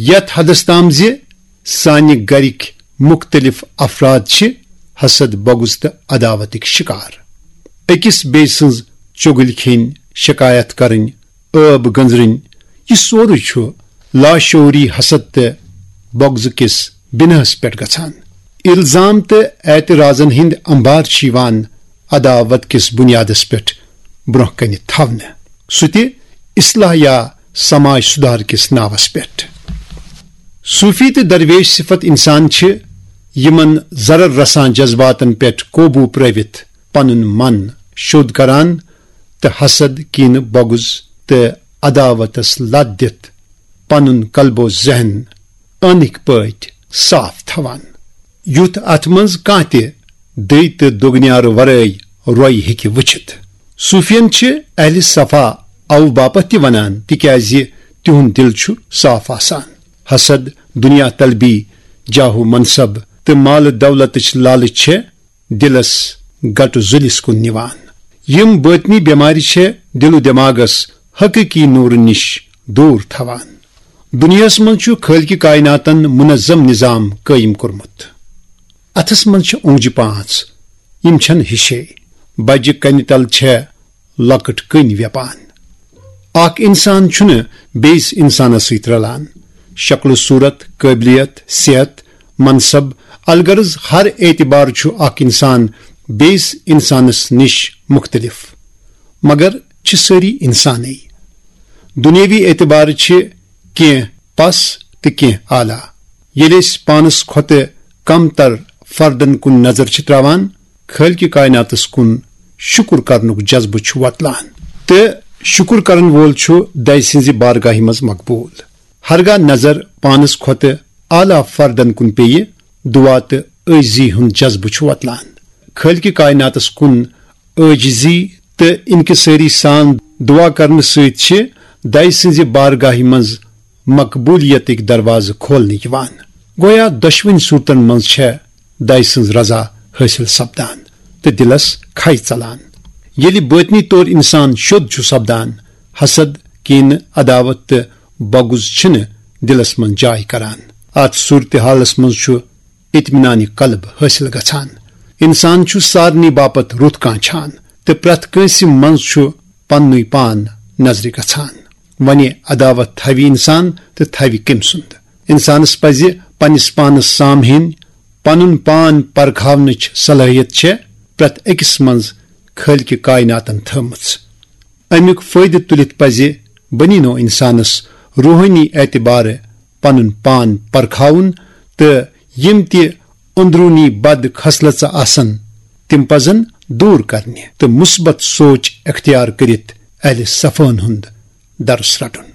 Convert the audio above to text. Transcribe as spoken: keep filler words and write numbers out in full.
یتھ حدس تام زِ سانہِ گرٕکۍ مُختٔلِف افراد چھِ حسد، بغض تہٕ عداوتٕکۍ شکار۔ أکِس بیٚیہِ سٕنٛز چُغلۍ کھیٚنۍ، شکایت کرٕنۍ، ٲب گنزرٕنۍ، یہِ سورُے چھُ لاشعوری حسد تہٕ بغض کِس بناہس پٮ۪ٹھ گژھان۔ الزام تہٕ اعتراضن ہٕنٛدۍ انبار چھِ یِوان عداوت کِس بنیادس پٮ۪ٹھ برونٛہہ کنہِ تھاونہٕ، سُہ تہِ اصلاح یا سماج سدھار کِس ناوس پٮ۪ٹھ۔ صوفی تہٕ درویش صفت انسان چھِ، یِمن ضرر رسان جذباتن پٮ۪ٹھ قوبو پرٲوِتھ پنُن من شوٚد کران تہٕ حسد، کینہٕ، بغض تہٕ عداوتس لت دِتھ پنُن قلب و ذہن عٲنٕکۍ پٲٹھۍ صاف تھاوان، یُتھ اتھ منٛز کانٛہہ تہِ دٔے تہٕ دۄگنیارٕ ورٲے روے ہیٚکہِ وٕچھِتھ۔ صوفین چھِ اہل صفا اوٕ باپتھ تہِ ونان، تِکیازِ تِہُنٛد دِل چھُ صاف آسان۔ حسد، دنیا طلبی، جاہ و منصب تہٕ مال دولتٕچ لالچ چھےٚ دِلس گٹہٕ زُلِس کُن نِوان۔ یِم بٲطنی بٮ۪مارِ چھےٚ دِل و دٮ۪ماغس حقیقی نوٗرٕ نِش دوٗر تھاوان۔ دُنیاہس منٛز چھُ خٲلقِ کائناتن منظم نظام قٲیِم کوٚرمُت۔ اتھس منٛز چھِ اونٛگجہِ پانٛژھ، یِم چھنہٕ ہِشے۔ بجہِ کنہِ تل چھےٚ لۄکٕٹ کٔنۍ ویپان۔ اکھ انسان چھُنہٕ بیٚیِس انسانس سۭتۍ رلان۔ شکل و صورت، قٲبلیت، صحت، منصب، الغرض ہر اعتبار چھُ اکھ انسان بیٚیِس انسانس نِش مُختٔلِف، مگر چھِ سٲری انسانٕے۔ دُنیٲوی اعتبار چھِ کینٛہہ پس تہٕ کینٛہہ اعلیٰ۔ ییٚلہِ أسۍ پانس کھۄتہٕ کم تر فردن کُن نظر چھِ تراوان، خٲلقِ کائناتس کُن شُکر کرنُک جذبہٕ چھُ وۄتلان، تہٕ شُکر کرن وول چھُ دَے سٕنٛزِ بارگاہہِ منٛز مقبوٗل۔ ہرگاہ نظر پانس کھۄتہٕ اعلیٰ فردن کُن پیٚیہِ، دعا تہٕ عٲجزی ہُنٛد جذبہٕ چھُ وۄتلان۔ خٲلقِ کائناتس کُن عٲجزی تہٕ انکسٲری سان دعا کرنہٕ سۭتۍ چھِ دَے سٕنٛزِ بارگاہہِ منٛز مقبولیتٕکۍ دروازٕ کھولنہٕ یِوان۔ گویا دۄشوٕنی صورتن منٛز چھےٚ دَے سٕنٛز رضا حٲصِل سپدان تہٕ دِلس کھے ژلان۔ ییٚلہِ بٲطنی طور انسان شوٚد چھُ سپدان، حسد، کینہٕ، عداوت تہٕ بغض چھِنہٕ دِلس منٛز جاے کران۔ اتھ صورتحالس منٛز چھُ اطمینان قلب حٲصِل گژھان۔ انسان چھُ سارنٕے باپتھ رُت کانٛہہ چھان تہٕ پرٛٮ۪تھ کٲنٛسہِ منٛز چھُ پننُے پان نظرِ گژھان۔ وۄنہِ عداوت تھاوِ انسان تہٕ تھاوِ کٔمۍ سُنٛد؟ انسانس پزِ پننِس پانس سامہِن، پنُن پان پرکھاونٕچ صلٲحیت چھےٚ پرٛٮ۪تھ أکِس منٛز خٲلقِ کائناتن تھٲومٕژ۔ امیُک فٲیدٕ تُلِتھ پزِ بنی نوع انسانس روحٲنی اعتبارٕ پنُن پان پرکھاوُن تہٕ یِم تہِ اندروٗنی بد خصلژٕ آسن، تِم پزن دوٗر کرنہِ تہٕ مثبت سونچ اختیار کٔرِتھ اہل صفاہن ہُنٛد درس رٹُن۔